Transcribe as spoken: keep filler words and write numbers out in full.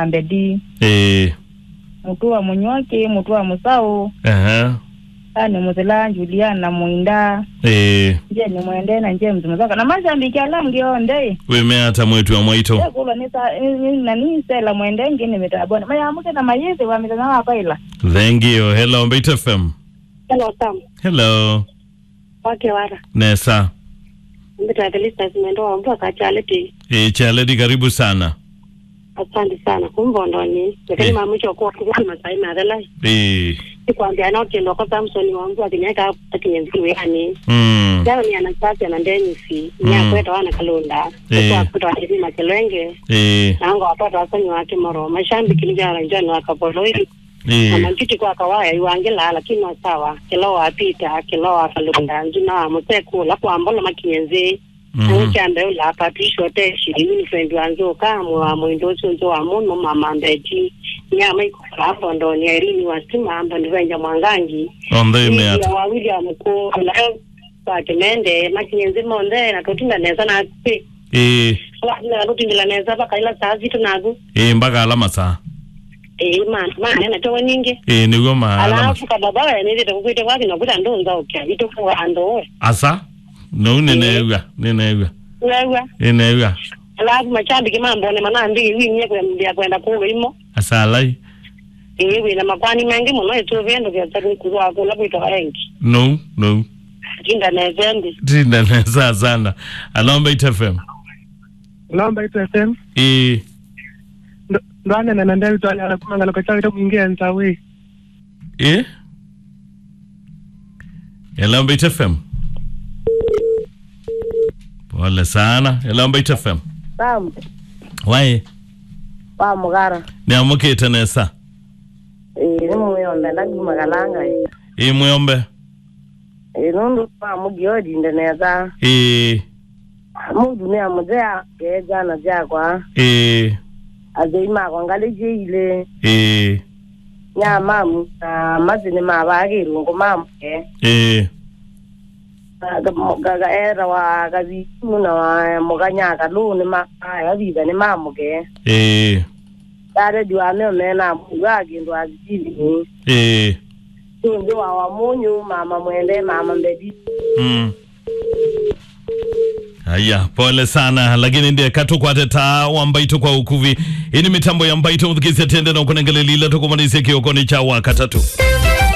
Ambedi. Ĩĩ. Mũtũa Mũnywaki, Mũtũa Mũsaũ. Ehe. Ani Mũthela, Juliana Mũinda. Ĩĩ. Jeni Mwende na James Mũthaka. Na mashabiki ala angĩ onthe. Wĩmea ata mwĩĩtu wa mwaitũ? Ekulwa nĩ sa-, nĩ, nĩ, na nĩ Stella Mwende ngĩ nĩ mĩtamboni. Mayamũke na mayĩthĩwa mĩthenya wa kwaĩla. Thank you. Hello, Mbaitu F M. Hello, Sam. Hello. Wake wara. Nesa. Mbita Felicitas Mwendo wa Mvua ka Charity. Eh, Charity, karibu sana. Asante sana. Kumbondoni. Lakini Eh. mama mwisho kwa kwa masai na dela. Eh. Nikwambia no kendo kwa Samson wa Mvua kinyaka kinyezi yani. Mm. Jana ni Anastasia na Dennis. Ni Mm. akweta wana Kalonda. Eh. Kwa kweta wana Kelenge. Eh. Na ngo apata wasani wake moro. Mashambi kinijana njano akapoloi. Ĩĩ. Na manjuti kwa kawaya iwangĩlaa, lakini no sawa. Kĩla wa Peter, kĩla wa Kalonda, nzuna wa mũseku, ũla kwa mbolo makinye nzĩ. Mhm. Nĩwe kya mbee ũla Patricia Oteshi, ni friend wa Nzũka, mwe wa mwĩndũ ũsu nzũ wa mũno, mama Mbeti. Nyama ikũkala Mbondoni, Irene wa Stima, Mbondivenja Mwangangi. Onthe ĩmea ata? Wa William Kũla, kwa Kĩmende, makinye nzĩ monthe, na tũtinda nesa na kwĩ. Ĩĩ. Wa, na tũtindĩla nesa, mpaka ila saa sitũ naku. Ĩĩ, mpaka ala masaa. Ĩĩ, ma, ma, nena tewe ningĩ. Ĩĩ, nĩguo ma, ala masaa. Alafu kababa we, nĩthĩte kũkwĩte kwake, na kwĩta ndũnza ũkĩa, itũkũwa andũ we. Asa? No, nĩneew'a, nĩneew'a. Weew'a. Nĩneew'a. Alafu mashabiki mambone manambĩie winie kwenda kwenda kũlwa imo. Asalai. Ĩĩ, wĩna makwani maingĩ mũno, ĩtũvĩndũkĩa kũlwa kũla kwĩtawa engi. No, no. Tinda nesa ndi. Tinda nesa sana. Alomba It F M. Lomba It F M. Ĩĩ. Ndo-, ndwanene na David Wanyala kuma Ngaloko Chawi to mwingi enza we. Ĩĩ? Alomba It F M. Pole sana. Alomba It F M. Sam. Waĩ? Wa Mũgara. Nĩamũkĩte nesa. Ĩĩ, nĩ mwĩombe, ndanguma kalanga ĩ. Ĩĩ, mwĩombe. Ĩĩ, nũndũ wa mũgiodi ndenetha. Ĩĩ. Mũtumĩa mũthea, ngeja na syakwa. Ĩĩ. Athei makwa ngalĩ syĩ ilĩ. Ĩĩ. Nyamamu na masi nĩ mavaa kĩlungu mamũke. Ĩĩ. Ga-, ga-, ga-, etawa Kavikimu na wa Mũkanya Kalũ nĩ ma-, aya vitha nĩ mamũke. Ĩĩ. Dadedi wa meo mena mũndũ wa kĩndũ asitini. Ĩĩ. Tunzi wa wa mũnyũ, mama Mwende, mama Mbedi. Mm. Aya, pole sana, lakini ndiye katukwate ta wa Mbaitũ kwa ũkuvĩ. Ĩĩ nĩ mĩtambo ya Mbaitũ, mũthikĩsya tende na ũkũnengelelile tũkũmanĩsye kĩokonĩ kya wa katatũ.